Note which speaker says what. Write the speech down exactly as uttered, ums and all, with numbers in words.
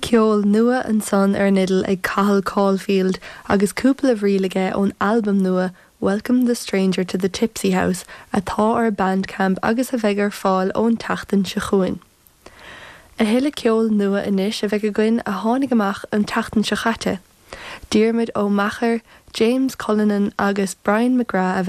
Speaker 1: Ceol nua ansan ar an fhidil ag Cathal Caulfield agus cúpla ríl aige ón albam nua Welcome the Stranger to the Tipsy House atá ar Bandcamp agus a bheidh ar fáil ón tseachtain seo chugainn. A thuilleadh ceol nua anois a bheidh againn a tháinig amach an tseachtain seo caite. Diarmuid Ó Meachair, James Cullinan agus Brian McGrath a bheidh